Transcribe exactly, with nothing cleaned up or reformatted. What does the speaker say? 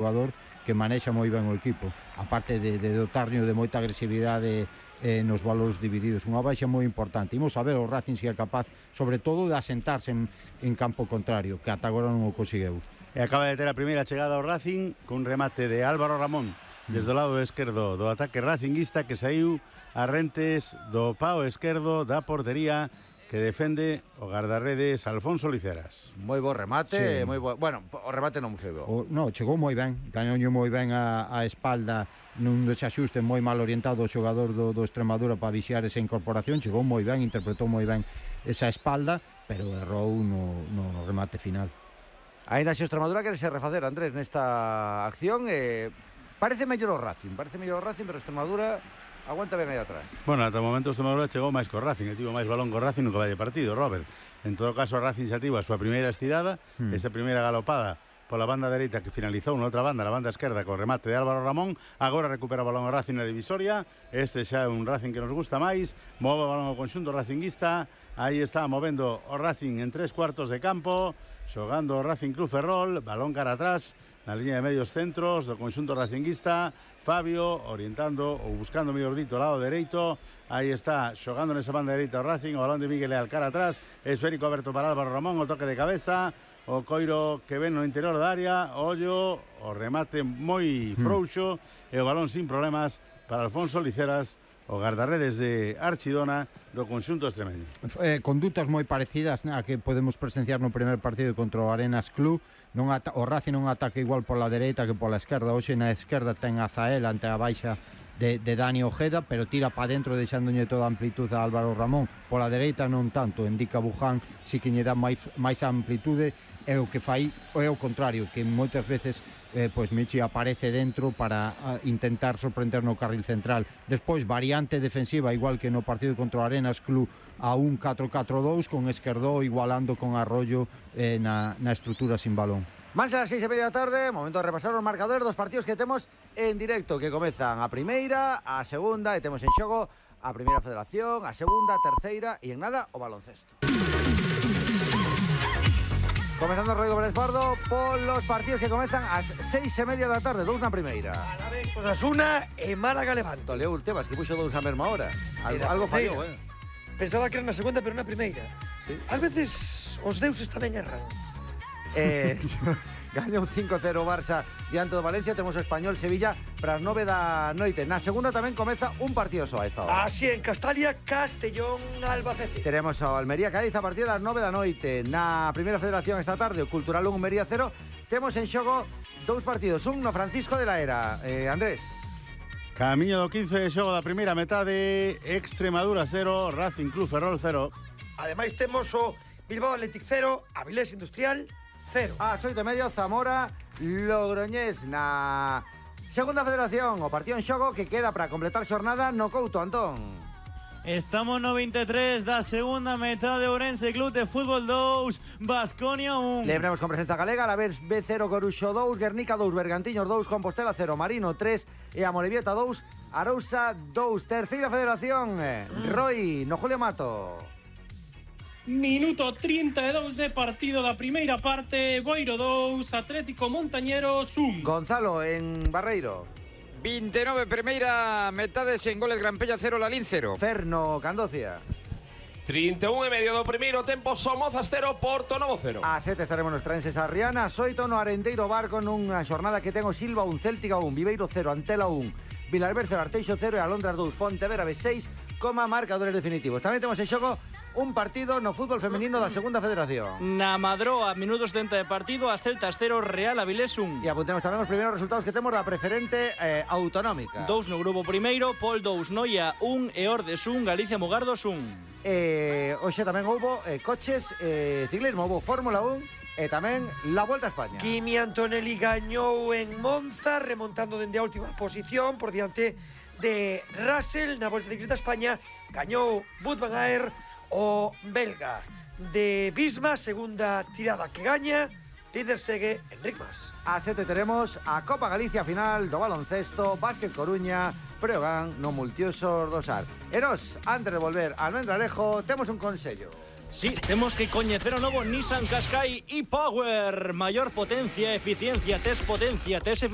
xogador que manexa moi ben o equipo, aparte de, de dotarnos de moita agresividade eh, nos valores divididos, unha baixa moi importante. Imos a ver o Racing se é capaz, sobre todo, de asentarse en, en campo contrario, que ata agora non o conseguiu. E acaba de ter a primeira chegada ao Racing cun remate de Álvaro Ramón desde o lado esquerdo do ataque racinguista, que saiu a rentes do pao esquerdo da portería que defende o guardarredes Alfonso Liceras. Moi bo remate, Sí. moi bo... Bueno, o remate non foi bo. O, no, chegou moi ben, gañoulle moi ben a, a espalda nun desaxuste moi mal orientado o xogador do, do Extremadura para vixiar esa incorporación, chegou moi ben, interpretou moi ben esa espalda, pero errou no, no remate final. Ainda xe o Extremadura quere se refacer, Andrés, nesta acción. Eh, parece mellor o Racing, parece mellor o Racing, pero o Extremadura aguanta ben aí atrás. Bueno, ata o momento o Extremadura chegou máis co Racing, e tivo máis balón co Racing no que vai de partido, Robert. En todo caso, o Racing xa tivo a súa primeira estirada, hmm. esa primeira galopada pola banda dereita que finalizou na outra banda, na banda esquerda, co remate de Álvaro Ramón. Agora recupera o balón o Racing na divisoria. Este xa é un Racing que nos gusta máis. Move o balón ao conxunto racinguista. Aí está movendo o Racing en tres cuartos de campo, xogando o Racing Club Ferrol, balón cara atrás na liña de medios centros do conxunto racinguista. Fabio orientando ou buscando, mellor dito, o lado dereito. Aí está xogando nesa banda dereita o Racing, o balón de Miguel Leal cara atrás, esférico aberto para Álvaro Ramón, o toque de cabeza, o coiro que ven no interior da área, ollo, o remate moi frouxo mm. e o balón sin problemas para Alfonso Liceras, o guardarredes de Archidona do conxunto extremeño. Eh, condutas moi parecidas a que podemos presenciar no primer partido contra o Arenas Club. Non ata, o Racing non ataca igual pola dereita que pola esquerda. Hoxe na esquerda ten a Zael ante a baixa de, de Dani Ojeda, pero tira para dentro deixándolle toda a amplitude a Álvaro Ramón. Pola dereita non tanto, indica Buján, si que lle dá máis, máis amplitude, é o que fai é o contrario, que moitas veces eh, pois Michi aparece dentro para uh, intentar sorprender no carril central. Despois, variante defensiva, igual que no partido contra o Arenas Club, a un catro catro dous, con Esquerdó igualando con Arroyo eh, na, na estrutura sin balón. Más a las seis e media da tarde, momento de repasar os marcadores dos partidos que temos en directo, que comezan a primeira, a segunda, e temos en xogo a primeira federación, a segunda, a terceira e en nada o baloncesto. Comezando Rodrigo Pérez Pardo polos partidos que comezan ás seis e media da tarde, dous na primeira. A la vez Osasuna e Málaga Levante. Leo Ultebas, que puxo dous a mesma hora. Algo, algo fallou, eh? Pensaba que era na segunda, pero na primeira. Sí. Ás veces os deuses tamén erran. Eh, gaña un cinco cero Barça diante do Valencia. Temos o Español Sevilla para as nove da noite. Na segunda tamén comeza un partido só a esta hora. Así en Castalia, Castellón, Albacete. Teremos o Almería Cádiz a partir das nove da noite. Na primeira federación esta tarde, o Cultural un, Almería cero. Temos en xogo dous partidos, un no Francisco de la Era. eh, Andrés. Camiño do quince de xogo da primeira metade, Extremadura cero, Racing Club Ferrol cero. Ademais temos o Bilbao Athletic cero, Avilés Industrial cero. A oito e media, Zamora Logroñés. Na segunda federación, o partido en xogo que queda para completar xornada no Couto, Antón. Estamos no veintitrés da segunda metade, Ourense Club de Fútbol dous, Baskonia un. Lembremos con presenza galega, a la vez B cero, Coruxo dous, Guernica dous, Bergantiños dous, Compostela cero, Marino tres e a Morevieta dous, Arousa dous. Terceira federación, Roy, no Julio Mato. Minuto trinta e dous de partido da primeira parte, Boiro dous, Atlético Montañeros un. Gonzalo, en Barreiro. vinte e nove primeira metade, sen goles, Gran Pella cero, Lalín cero. Ferno, Candocia. trinta e un e medio do primeiro tempo, Somozas cero, Porto Novo cero. A sete estaremos nos Trenses a Riana, oito no Arenteiro Bar con unha xornada que ten o Silva un, Céltica un, Viveiro cero, Antela un, Vilalber cero, Arteixo cero e Alondras dous, Pontevedra B seis, coma marcadores definitivos. Tamén temos en xogo un partido no fútbol femenino da segunda federación. Na Madroa, minutos setenta de partido, as Celtas cero, Real Avilés un. E apuntemos tamén os primeiros resultados que temos da preferente eh, autonómica. Dous no grupo primeiro, Pol dous, Noia un e Ordes un, Galicia Mugardos un. Eh, hoxe tamén houbo eh, coches, eh, ciclismo, houbo Fórmula un e tamén la Volta a España. Kimi Antonelli gañou en Monza, remontando dende a última posición por diante de Russell. Na Volta Ciclista a España gañou Wout van Aert, o belga de Bisma, segunda tirada que gaña. Líder segue Enric Mas. A sete teremos a Copa Galicia final do baloncesto, Básquet Coruña, Breogán no Multiusos do Sar. E nos, antes de volver ao Almendralejo, temos un consello. Sí, temos que coñecer o novo Nissan Qashqai e-Power. Maior potencia, eficiencia, tes potencia, tes eficiencia.